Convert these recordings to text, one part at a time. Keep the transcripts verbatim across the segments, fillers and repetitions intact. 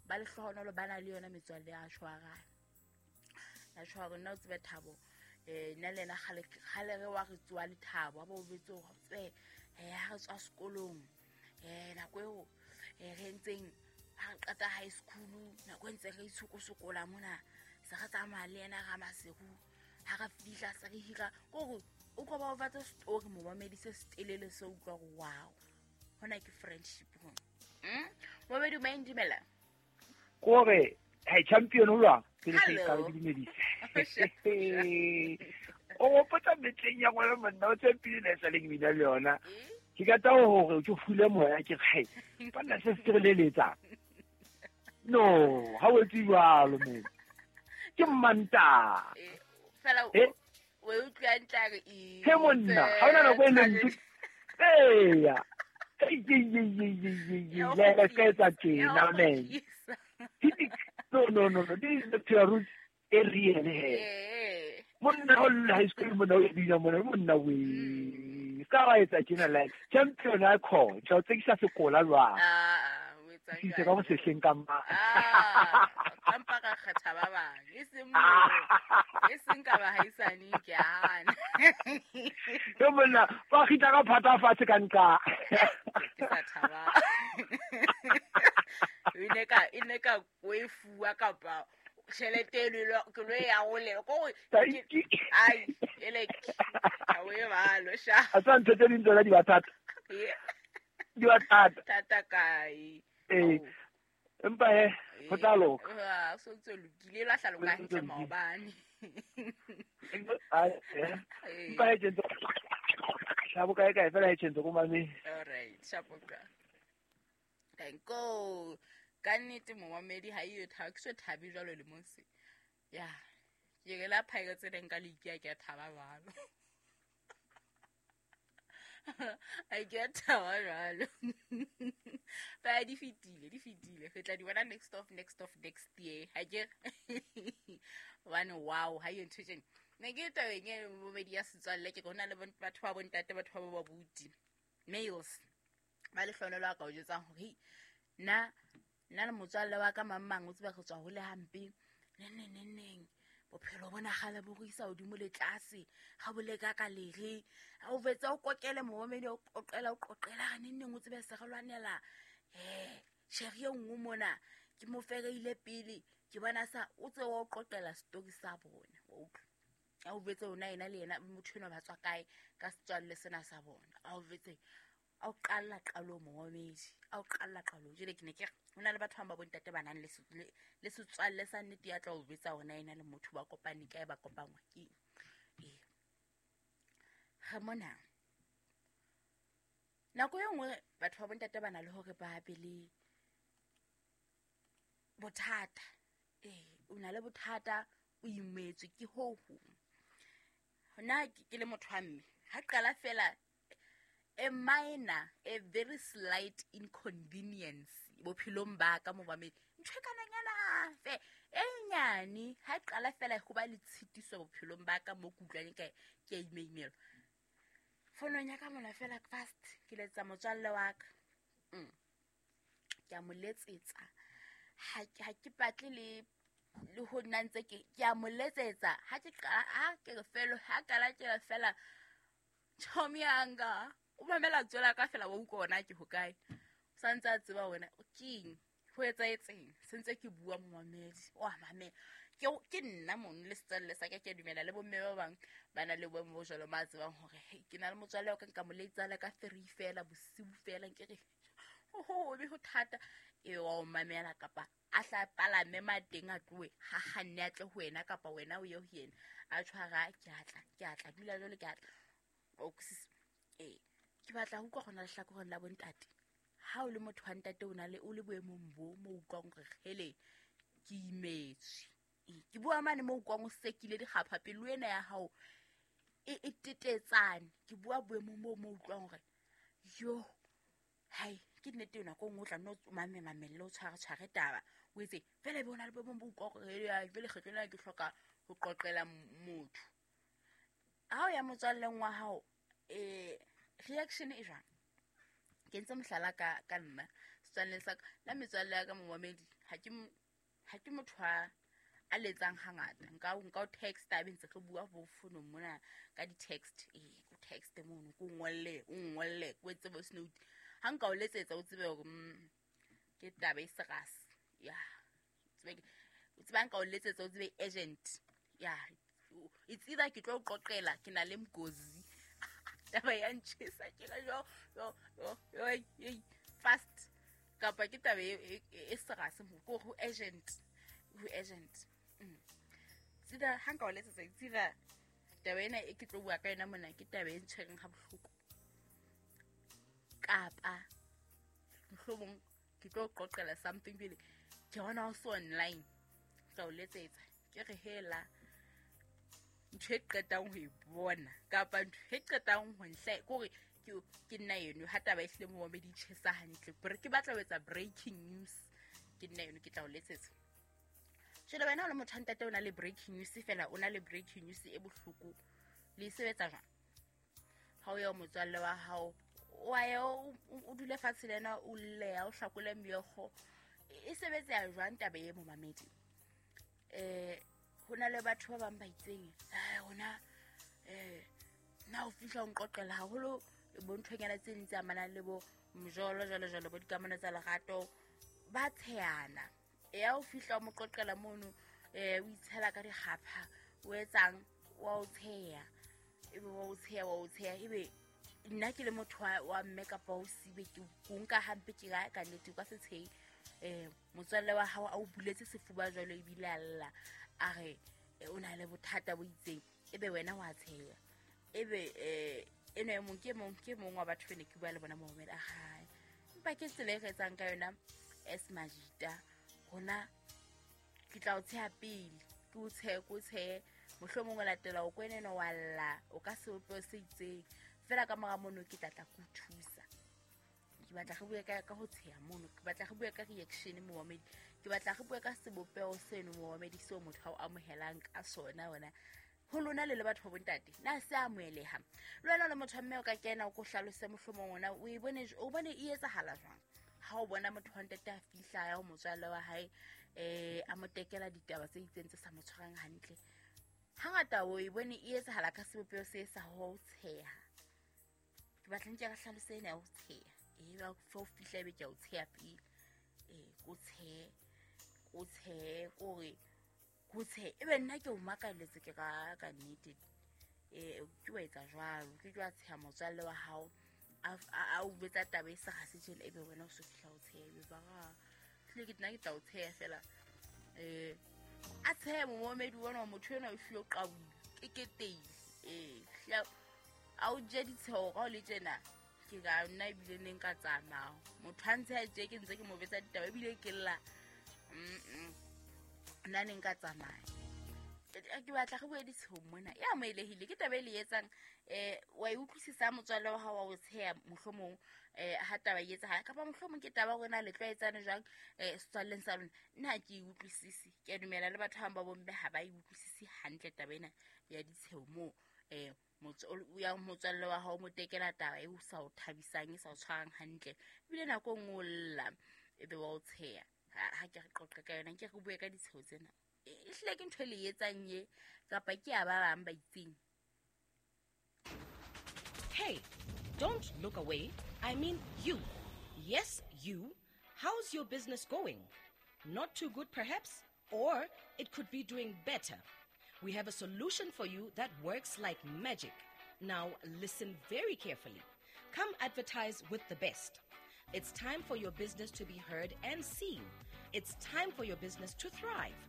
Ba lehlohonolo ba na le yona metswalle ya tshwarana. Ya tshwara nna o tsebe Thabo. Eh nna le yena kgale kgale re wa re tsoa le Thabo, a bo betse hore tsebe eh ha re tswa sekolong. Eh nako eo eh re entseng ha re qeta high school, nako e ntse re itshokosokola mona, se re tsamaya le yena ra Maseru. Ha re fihla se re hira kore o tlo ba o batla story momamedi se setelele se utlwa hore wow. Hona ke friendship hona. Mm? Momamedi o maeng dumela. Kore hey champion o lwa ke le Hello. ka le dumedise. O gopotsa metleng ya ngwana monna o champion e sa le ke bina le yona. Eh? Ke ka taba hore ke fule moya ke re banna se se re leletsa. No, ha o etse jwalo men. Ke mmanta. Eh, fela o Eh? o e utlwa hantle a re, "E, He monna, ha hona nako e leng tse- Eya. Ei, ei, ei, ei, ei, ei, Ya ei, o le ka kgutlisa, etsa ya tjena, o man. kgutlisa. No, no, no, no. This is the root e real he. Eh. Monna o le high school monna o bina monna monna we. Ska wa etsa tjena like champion a call. Tla o tsekisa sekola jwang. Ah, ah, o etsa Ke se jwang? ka mo sehleng ka ma. Ah, ka mpa ka kgetha ba bang. E seng moo. E seng ka bahaisane, ke a hana. He monna, ba kgitla ka phata fatshe ka nqa. Ke sa thaba. E ne ka, e ne ka ko e fuwa kapa tjhelete e lo, ke lo e arolelwa. Ko hore Thank ke- you. ai, ele ke, ha o e balo, sha. A tsa ntho tse ding tsona di ba thata. Eh, Di ba thata. thata kae? Eh, Ao. empa he, ho tla loka. Ah, so ntse lokile, la hlaloka Ho ntse hantle lokile. maobane. Ai, eh. Eh. Empa he tjhentse. Shabo kae kae fela he tjhentse ko mameng. All right, shapo bra. Thank you. Ka nnete momamedi ha eyo thaba, ke so thabe jwalo lemong se. Ya, ke re la Pirates e neng ka league ya ke a thaba jwalo. Ha ke a thaba jwalo. Ba di fetile, di fetile. Re tla di bona next of, next of, next year. Ha ke re? Hobane wow, ha eyo ntho e tjena. Ne ke tabeng e momamedi ya setswalle, ke re ho na le bon-, batho ba bontate, batho ba bo babuti. Males. Ba lehlohonolo a ka o jwetsang hore, hei, nna, nna le motswalle wa ka mang mang o tseba re tswa hole hampe. Neng, neng, neng, neng. Bophelo bona kgale bo re isa hodimo le tlase. Ha bo leka ka lere. Ha o fetsa o kokele momamedi, o qoqela, o qoqela. Re neng, neng o tsebe se re lwanela. Eh, tjhere e nngwe mona, ke mo fereile pele. Ke bona sa, o tsebe wa o qoqela story sa bona. Wa utlwa? Ha o fetse ona yena le yena, motho enwa ba tswa kae ka setswalle sena sa bona. Ha o fetse, a o qalla qalong momamedi, a o qalla qalong. Jwale ke ne ke re, ho na le batho ba bang ba bontate ba nang le se-, le, le setswalle sa nnete ya tla o jwetsa hore na ena le motho ba kopane kae, ba kopangwa ke eng. Ee. Re mona. Nako e nngwe batho ba bontate ba na le hore ba be le bothata. Ee, o na le bothata, o imetswe ke ho hong. Nna ke, ke le motho wa mme, ha qala fela a minor, a very slight inconvenience bophelong ba ka momamedi. Ntho e kananyana fe, e nyane, ha qala fela ho ba le tshitiso bophelong ba ka mo ke utlwang ka ke a imeimelwa. Fonong ya ka mona fela fast, ke letsa motswalle wa ka. Mm. Ke a mo letsetsa. Ha ke, ha ke batle le, le ho nna ntse ke, ke a mo letsetsa. Ha ke qala, ha ke re fela, ha qala ke re fela, chomi yanga. O mamela tswela ka fela wa utlwa hore na ke hokae. O sa ntse a tseba hore na keng, ho etsahetseng. Se ntse ke bua momamedi, o a mamela. Ke, ke nna mono le setswalle sa ka, ke a dumela le bomme ba bang ba na le boemo bo jwalo, ba tsebang hore, hei, ke na le motswalle wa ka, nka mo letsa le ka three fela, bosiu fela, nke re, ho, ho, ho, be ho thata. E wa o mamela kapa a hla palame mateng a tlohe, ha kganne a tle ho wena kapa wena o ye ho yena. A tshwara, ke a tla, ke a tla, dula jwale ke a tla. O sis-, ee, ke batla ho utlwa hona lehlakoreng la bontate. Ha o le motho wa ntate, o na le, o le boemong bo mo utlwang hore hele, ke imetswe. Ee, ke bua mane mo utlwang o sekile dikgapha, pelo ena ya hao e, e tetetsane. Ke bua boemong bo mo utlwang hore, yo, hai, ke nnete nako e nngwe o tla nno o mame mamelle, o tshware tshware taba. O etse, fela ebe o na le boemong bo utlwang hore, hele, ai, jwale kgetlo lena ke hloka ho qoqela motho. Ha o ya motswalleng wa hao, eh, reaction e jwang? Ke entse mohlala ka, ka nna, setswalleng sa ka, la metswalle ya ka momamedi, Ha ke ha ke motho a a letsang hangata. Nka nka o text a be ntse re bua bo founong mona ka di-text. Eh, o text mono, ko ngolle, o ngolle, ko etse voice note. Ha nka o letsetsa o tsebe hore mm, ke taba e serious. Ya. Tsebe o tseba nka o letsetsa o tsebe urgent. Ya. It's either ke tlo o qoqela ke na le mgozi. Taba ya ntjhesa ke re yo yo yo yo fast kapa ke taba e e serious mo ko go urgent. Go urgent. Mm. Tsida ha nka o letsetsa tsida taba ena e ke tlo bua ka yona mona ke taba e ntshwereng ha bohloko. Kapa mohlomong ke tlo qoqela something pele ke bona o so online tla o letsetsa ke re hela ntho e qetang ho e bona kapa ntho e qetang ho nhle kore ke ke nna eno ha taba e hlile mo di tjhesa hantle ke batla ho etsa breaking news ke nna eno ke tla o letsetsa. Jwale wena o le motho wa ntate o na le breaking news fela o na le breaking news e bohloko le sebetsa jwang ha o ya motswalle wa hao wa ya o dule fatshe le yena o lleya o hlakole meokgo e sebetsa jwang taba e momamedi eh ho na le batho ba bang ba itseng eh rona eh na o fihla o nqoqela haholo bo nthonyana tse ding tse amanang le bo mjolo jwalo jwalo bo dikamano tsa lerato ba tsheyana ya o fihla o mo qoqela mono eh o itshela ka dikgapha o etsang wa o tsheya ebe wa o tsheya wa o tsheya ebe nna ke le motho wa mme kapa o sibe ke o nka hampe ke ga ka nnete o ka se tsheyi eh motswalle wa hao a o buletse sefuba jwalo ebile a lla a re o na le bothata bo itseng ebe wena wa tsheya ebe eh eno e mong ke mong ke mong wa batho bene ke bua le bona momela a hae empa ke tsela e re etsang ka yona as majita hona ke tla o tsheya pele ke o tshehe ke o tshehe mohlomong o latela o kweneno wa lla o ka sebopeho se itseng fela ka mora mono ke tla tla ko thusa. Ke batla re bue ka ka ho tsheya mono ke batla re bue ka reaction momamedi ke batla re bue ka sebopeho seno momamedi seo motho a o amohelang ka sona wena ho lona le le batho ba bontate na se amoheleha le wena le motho wa mme o ka kena o ko hlalose mohlomong ona o e bone o bone e etsahala jwang ha o bona motho wa ntate a fihla ya ho motswalle wa hae eh a mo tekela ditaba tse itseng tse sa mo tshwarang hantle hangata o e bone e etsahala ka sebopeho se sa ho tsheha ke batla nke re hlalose ena ya ho tsheha e ba fo fihla ebe ke o tsheya pele eh ko tshe ko tshe kore ko tshe ebe nna ke o makaletse ke ka ka nnete eh ke wa etsa jwalo ke jwa tsheya motswalle wa hao a a o betsa taba e sa ga se tjele ebe wena o so fihla o tsheya ebe ba ga tle ke nna ke tla o tsheya fela eh a tsheya momedi wona motho ena o hlile o qabule ke ke teile eh hla a o je ditsheho ka o le tjena ke ka nna ebile ne nka tsamaya motho a ntse a tje ke ntse ke mo betsa ditaba ebile ke lla mm nna ne nka tsamaya ke batla re bue ditsheho mona e amohelehile ke taba e le etsang eh wa e utlwisisa motswalle wa hao wa o tsheya mohlomong eh ha taba e etsahala kapa mohlomong ke taba hore na le tlwaetsane jwang eh setswalleng sa lona nna ha ke e utlwisise ke a dumela le batho ba bang ba bomme ha ba e utlwisise hantle taba ena ya ditsheho moo eh ya motswalle wa hao mo tekela taba e o sa o thabisang e sa o tshwarang hantle ebile nako e nngwe o lla ebe wa o tsheya ha ke re qoqe ka yona ke re bue ka ditsheho tsena e hlile ke ntho e le etsang ye kapa ke ya ba bang ba itseng. Hey, don't look away. I mean you. Yes, you. How's your business going? Not too good perhaps, or it could be doing better. We have a solution for you that works like magic. Now listen very carefully. Come advertise with the best. It's time for your business to be heard and seen. It's time for your business to thrive.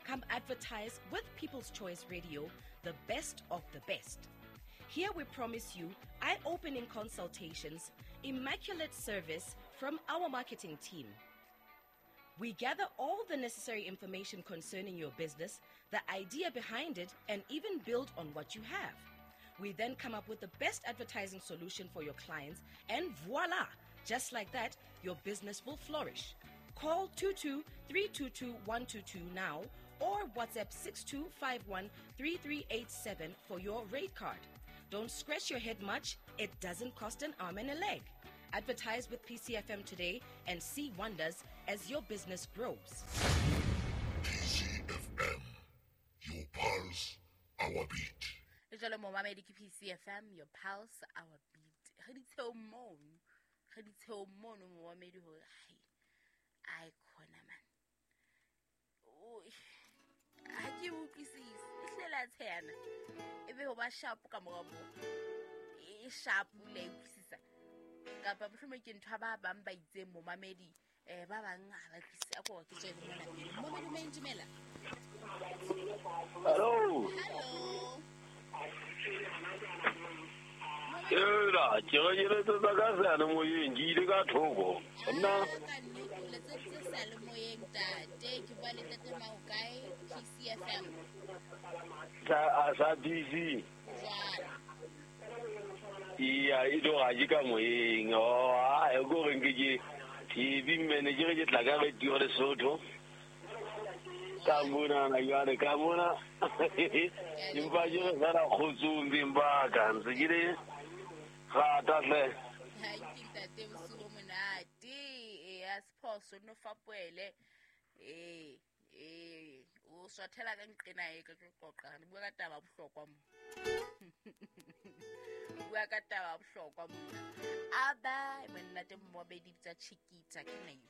Come advertise with People's Choice Radio, the best of the best. Here we promise you eye-opening consultations, immaculate service from our marketing team. We gather all the necessary information concerning your business, the idea behind it, and even build on what you have. We then come up with the best advertising solution for your clients, and voila! Just like that, your business will flourish. Call two two three two two one two two now or WhatsApp six two five one three three eight seven for your rate card. Don't scratch your head much. It doesn't cost an arm and a leg. Advertise with P C F M today and see wonders as your business grows. P C F M, your pulse, our beat. Le jwalo momamedi ke P C F M, your pulse, our beat. Re di tsheo mono, re di tsheo mono momamedi hore hai, ai khona man. Oi, ha ke utlwisise, e hlela tshena. E be ho ba sharp ka mora mo. E sharp le utlwisisa. Kapa mohlomong ke ntho ba bang ba itseng momamedi, eh ba bang ha ba utlwisise a ko ke tswe le mona pele. Momamedi o dumela. Hello. Hello. Ela, ke re ke letsetsa ka seyalemoyeng, ke ile ka thoko. Nna ka nnete o letseditse seyalemoyeng tate, ke bua le ntate Maokae, P C F M. Sa a sa D C. Jwale. Iya, e tlo ga ke ka moyeng. Oh, a e go reng ke ke T V manager ke tla ka radio Lesotho. Ka mona na jwale ka mona. Empa ke re fela kgotsong beng ba ka ntse ke le rata hle. Ha ke ntate bosigo monate. E ya sephoso no fapoele. Eh, eh, o swathela ka nqena e ka tlo qoqa. Re bua ka taba bohlokwa mo. Bua ka taba bohlokwa mo. Aba monnate mmobedi bitsa Chiquita ke neng.